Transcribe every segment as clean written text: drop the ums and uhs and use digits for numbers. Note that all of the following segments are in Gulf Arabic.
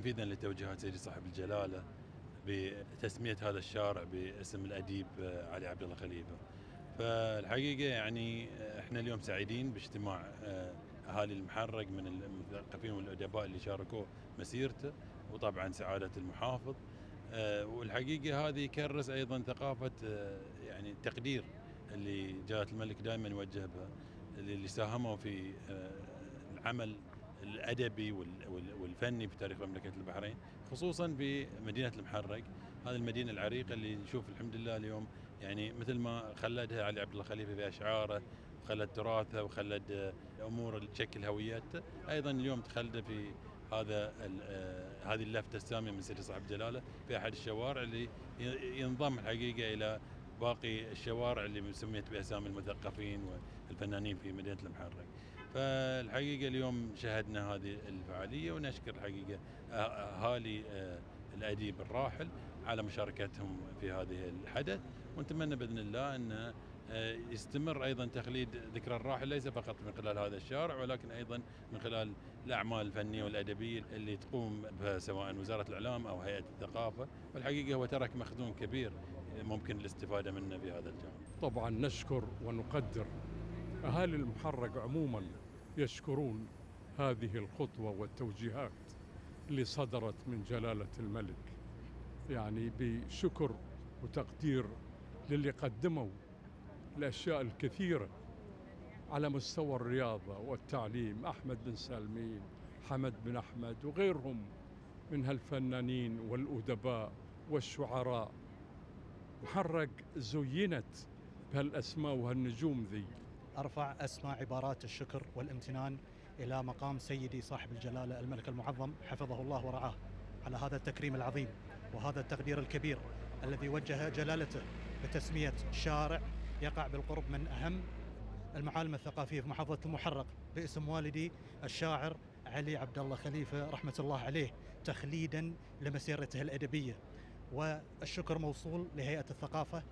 تنفيذا لتوجيهات سيدي صاحب الجلالة بتسمية هذا الشارع باسم الأديب علي عبد الله خليفة. فالحقيقة يعني احنا اليوم سعيدين باجتماع أهالي المحرق من المثقفين والأدباء اللي شاركوا مسيرته، وطبعا سعادة المحافظ. والحقيقة هذه يكرس أيضا ثقافة يعني التقدير اللي جلالة الملك دائما يوجه بها اللي ساهموا في العمل الأدبي والفني في تاريخ مملكة البحرين، خصوصا في مدينة المحرق، هذه المدينة العريقة اللي نشوف الحمد لله اليوم يعني مثل ما خلدها علي عبد الله خليفة في أشعاره، وخلد تراثه، وخلد أمور اللي تشكل هويته، أيضا اليوم تخلده في هذه اللفتة السامية من سيدي صاحب جلالة في أحد الشوارع اللي ينضم الحقيقة إلى باقي الشوارع اللي سميت بأسامي المثقفين والفنانين في مدينة المحرق. فالحقيقة اليوم شهدنا هذه الفعالية، ونشكر الحقيقة أهالي الأديب الراحل على مشاركتهم في هذه الحدث، ونتمنى بإذن الله أن يستمر أيضا تخليد ذكرى الراحل ليس فقط من خلال هذا الشارع، ولكن أيضا من خلال الأعمال الفنية والأدبية اللي تقوم بها سواء وزارة الإعلام أو هيئة الثقافة. والحقيقة هو ترك مخزون كبير ممكن الاستفادة منه في هذا الجانب. طبعا نشكر ونقدر أهالي المحرق عموما، يشكرون هذه الخطوة والتوجيهات اللي صدرت من جلالة الملك، يعني بشكر وتقدير للي قدموا الأشياء الكثيرة على مستوى الرياضة والتعليم، أحمد بن سالمين، حمد بن أحمد وغيرهم من هالفنانين والأدباء والشعراء. محرق زينت بهالأسماء وهالنجوم ذي. أرفع أسمى عبارات الشكر والامتنان إلى مقام سيدي صاحب الجلالة الملك المعظم حفظه الله ورعاه على هذا التكريم العظيم وهذا التقدير الكبير الذي وجه جلالته بتسمية شارع يقع بالقرب من أهم المعالم الثقافية في محافظة المحرق باسم والدي الشاعر علي عبد الله خليفة رحمة الله عليه، تخليدا لمسيرته الأدبية. والشكر موصول لهيئة الثقافة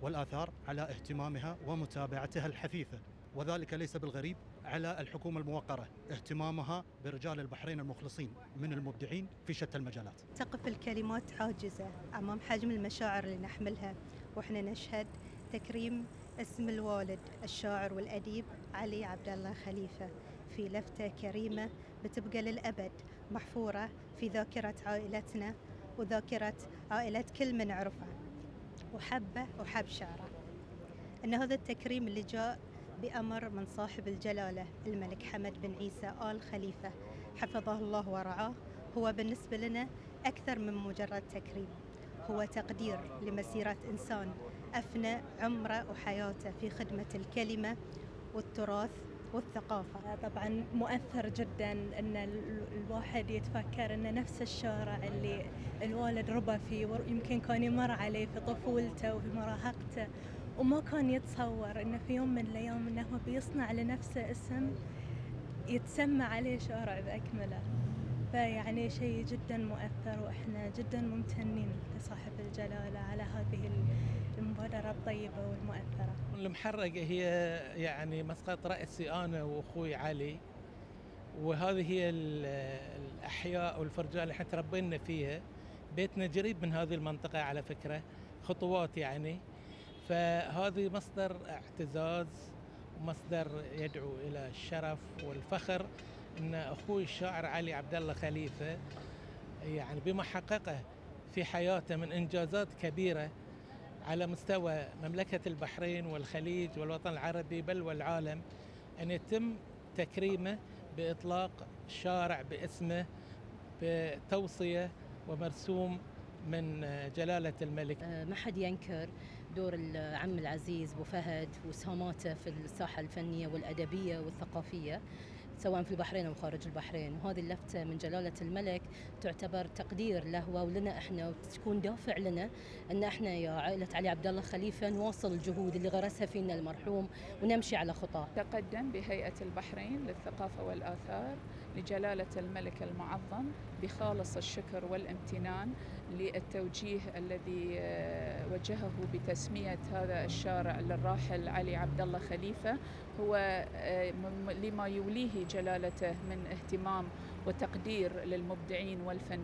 والآثار على اهتمامها ومتابعتها الحثيثة، وذلك ليس بالغريب على الحكومة الموقرة اهتمامها برجال البحرين المخلصين من المبدعين في شتى المجالات. تقف الكلمات عاجزة أمام حجم المشاعر اللي نحملها وإحنا نشهد تكريم اسم الوالد الشاعر والأديب علي عبد الله خليفة في لفتة كريمة بتبقى للأبد محفورة في ذاكرة عائلتنا وذاكرة عائلة كل من عرفه وحبه وحب شعره. أن هذا التكريم اللي جاء بأمر من صاحب الجلالة الملك حمد بن عيسى آل خليفة حفظه الله ورعاه هو بالنسبة لنا أكثر من مجرد تكريم، هو تقدير لمسيرة إنسان أفنى عمره وحياته في خدمة الكلمة والتراث والثقافة. طبعا مؤثر جدا أن الواحد يتفكر أن نفس الشارع اللي الوالد ربى فيه يمكن كان يمر عليه في طفولته وفي مراهقته، وما كان يتصور أنه في يوم من الأيام أنه بيصنع لنفسه اسم يتسمى عليه شارع بأكمله. فيعني شيء جدا مؤثر، وإحنا جدا ممتنين لصاحب الجلالة على هذه المبادرة الطيبة والمؤثرة. المحرق هي يعني مسقط رأسي أنا وأخوي علي، وهذه هي الأحياء والفرجال اللي احنا تربينا فيها. بيتنا قريب من هذه المنطقة على فكرة، خطوات يعني. فهذه مصدر اعتزاز ومصدر يدعو إلى الشرف والفخر أن أخوي الشاعر علي عبد الله خليفة يعني بما حققه في حياته من إنجازات كبيرة على مستوى مملكة البحرين والخليج والوطن العربي بل والعالم، أن يتم تكريمه بإطلاق شارع باسمه بتوصية ومرسوم من جلالة الملك. ما حد ينكر دور العم العزيز أبو فهد وسهاماته في الساحة الفنية والأدبية والثقافية سواء في البحرين أو خارج البحرين، وهذه اللفتة من جلالة الملك تعتبر تقدير له ولنا إحنا، وتكون دافع لنا أن إحنا يا عائلة علي عبد الله خليفة نواصل الجهود اللي غرسها فينا المرحوم ونمشي على خطاه. تقدم بهيئة البحرين للثقافة والآثار لجلالة الملك المعظم بخالص الشكر والامتنان للتوجيه الذي وجهه بتسمية هذا الشارع للراحل علي عبد الله خليفة، هو لما يوليه جلالته من اهتمام وتقدير للمبدعين والفنانين